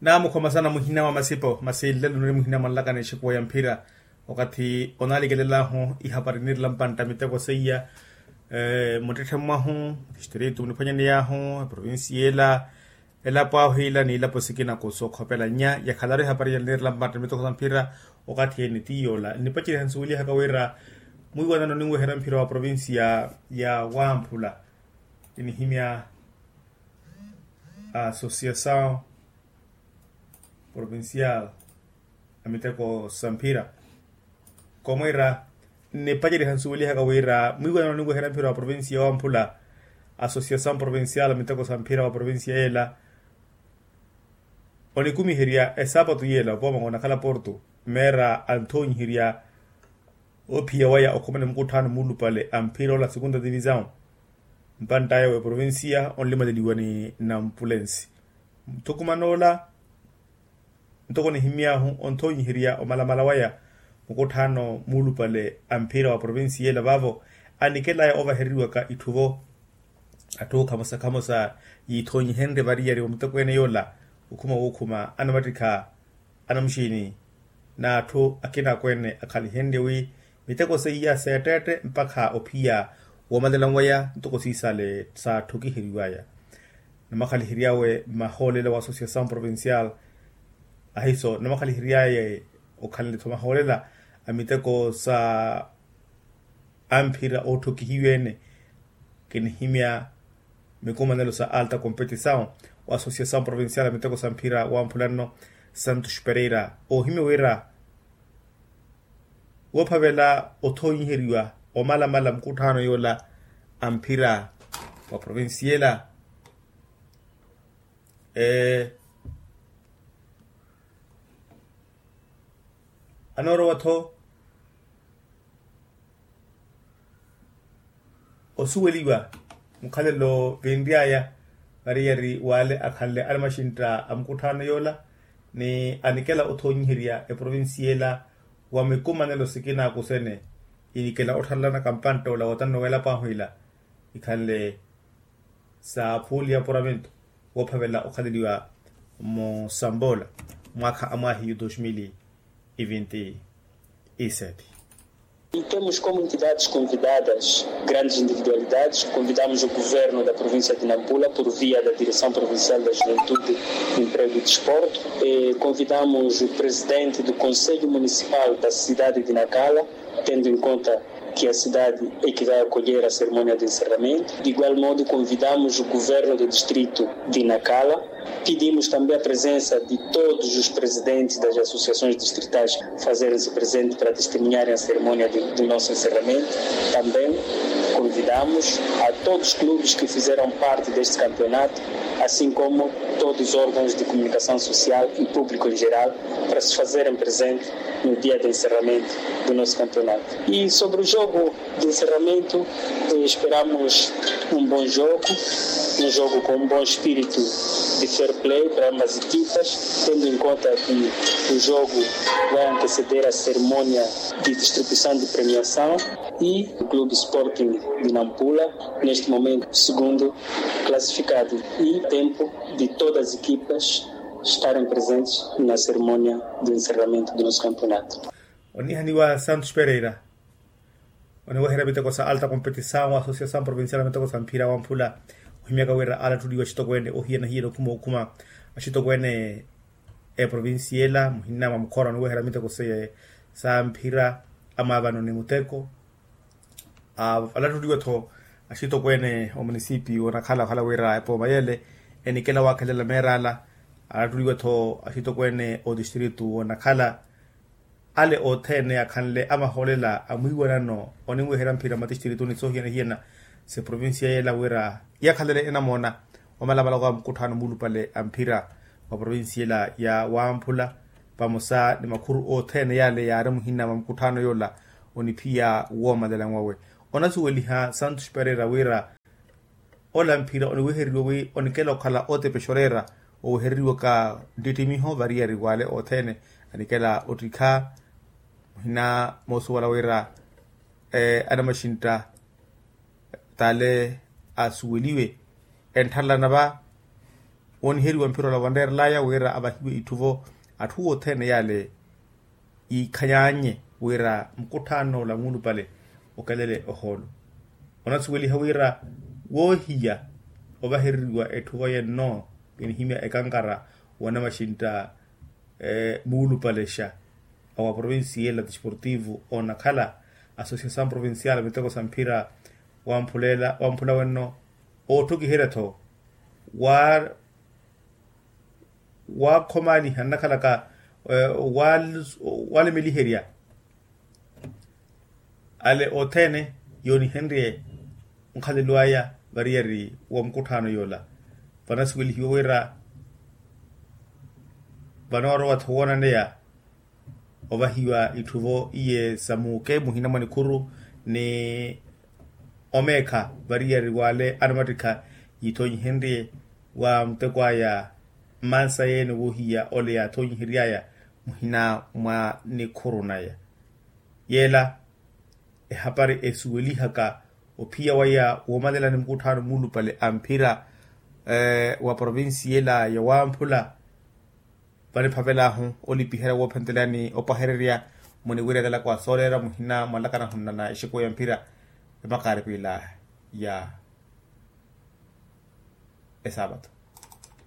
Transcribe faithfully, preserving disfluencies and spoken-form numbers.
Naamukhoma sana muhina mwa masipo masi nlelo niri muhina mwa nlakani exikuwa ya mphira. Wakathi onaalikelel'ahu ihapari nirela mpantta miteko seiya, muttetthe mwahu, distritu muniphwanyaney'ahu, eprovincia ela, elapo ahu ila n'ilapo sikina kusokhopela nnya yakhalaru ihapari ya nirela mpantta miteko sa mphira. Wakathi ene ti yoola nnipaceriha nsuwelihaka wira mwiiwanano ninweherya mphira wa provincia ya wamphula, kinihimya associação provincial a miteko sa mphira. Komwira nnipaceriha nsuwelihaka wira mwiiwanano ninweherya mphira wa provincia ya wamphula, associação provincial a miteko sa mphira wa provincia yeela, onikumiherya esaapatu yeela opoomaka onakhala porto, meera anthoonyiherya ophiya waya okhumana mukutthano muulupale a mphira ola segunda divisão. Mpantt'aya w'eprovincia onlimaleliwa ni nampulensi, nthukuman'ola ntoko nihimy'ahu onthoonyiherya omalamala waya mukutthano muulupale a mphira wa provincia ela vaavo anikel'aya ovahereriwaka itthu-vo. Atthu khamosa khamosa yiithoonyihenrye variyari wa miteko ene yoola, okhuma wookhuma anamattikha, anamuxiini n'atthu akina akweene akhalihenrye wi miteko seiya seetteette mpakha ophiya woomalela waya ntoko siisale saatthokiheryiw'aya. Namakhalihiryawe mmahoolela wa associação provincial, ahiso namakhalihiryaye okhanle-tho mahoolela a miteko sa amphira ootthokihiwa-ene. Kinihimya mikumanelo sa alta competição wa associação provincial a miteko sa mphira wamphula nno, santos pereira oohimya wira woophavela othoonyiheriwa omalamala mukutthano yoola a mphira wa provincia ela. Anoorowa-tho osuweliwa mukhalelo vinry'aya variyari w'ale akhanle anamaxintta a mukutthano yoola, ni anikela othoonyiherya eprovincia ela wa mikumanelo sikina akusene. Inikela otthalanaka mpantta ola wotanno w'elapo ahu ila ikhanle sa phuuli ya apuramento woophavela okhaleliwa musamboola mwaakha a mwaahiyu dos mil e vinte e sete. E temos como entidades convidadas grandes individualidades. Convidamos o governo da província de Nampula por via da Direção Provincial da Juventude, Emprego e Desporto. E convidamos o presidente do Conselho Municipal da cidade de Nacala, tendo em conta que a cidade é que vai acolher a cerimónia de encerramento. De igual modo, convidamos o governo do distrito de Nacala. Pedimos também a presença de todos os presidentes das associações distritais fazerem-se presentes para testemunharem a cerimónia de, do nosso encerramento. Também convidamos a todos os clubes que fizeram parte deste campeonato, assim como todos os órgãos de comunicação social e público em geral, para se fazerem presentes no dia de encerramento do nosso campeonato. E sobre o jogo de encerramento, eh, esperamos um bom jogo, um jogo com um bom espírito de fair play para ambas equipas, tendo em conta que o jogo vai anteceder a cerimónia de distribuição de premiação e o Clube Sporting de Nampula, neste momento, segundo classificado, e tempo de todas as equipas estarem presentes na cerimónia de encerramento do nosso campeonato. Onihaniwa Santos Pereira, oniweherya miteko sa alta competição wa associação provincial a miteko sa mphira wamphula, ohimyaka wira alattuliwa axitokweene ohiyana-hiyana okhuma okhuma axitokweene eprovincia ela muhina mwa mukhora oniweherya miteko sa mphira, amwaavano ni muteko. Alattuliwa-tho axitokweene omunisipiyu onakhala okhala wira epooma yele enikela waakhelela meerala. Alattuliwa-tho axitokweene otistritu onakhala ale othene akhanle amahoolela a mwiiwanano oniweherya mphira matistritu ni soohiyana-hiyana s'eprovincia yela wira yakhalele enamoona. Wamalamala wa mukutthano muulupale a mphira wa provincia ela ya wamphula, vamosa ni makhuru othene yale yaari muhina mwa mukutthano yola oniphiya woomalela nwawe. Onasuweliha santos pereira wira ola mphira oniweheriwe wi onikela okhala otepexorera owehereriwaka nttittimiho variyari wale othene anikela ottikha muhina moosuwala wira anamaxintta tale asuweliwe enttharelana va Wooniheriwa mphira ola vanreerelaya wira avahiwe itthuvo atthu othene yale yiikhanyaanye wira mukutthaano ola muulupale okelele ohoolo. Onasuweliha wira woohiya ovahereriwa etthuvo yenno kinihimya ekankara wa namaxintta muulupalexa awa provincia ela desportivo onakhala associação provincial miteko sa mphira wamphula wenno otthukiherya-tho wa waakhomaliha nnakhalaka walemeliherya ale othene yoonihenrye nkhalelo aya variyari wa mukutthaano yoola. Vanasuwelihiwa wira vanoorowa-tho woonaneya ovahiwa itthuvo iye sa muuke muhina mwa nikhuru ni omeekha variyari wale anamattikha yiithonyihenrye wa muteko aya mmansa yeene woohiya ole yaathonyihery'aya muhina mwa nikhuru naya. Yeela ehapari esuwelihaka ophiya waya woomalelani mukutthaano muulupale a mphira wa provincia ela ya wamphula vaniphavel'ahu olipiherya woophentelani opahererya muniwira etalaka wa sooleera muhina mwa nlakanahu nnana exekuwa ya mphira ya makaaripila ya esaapato.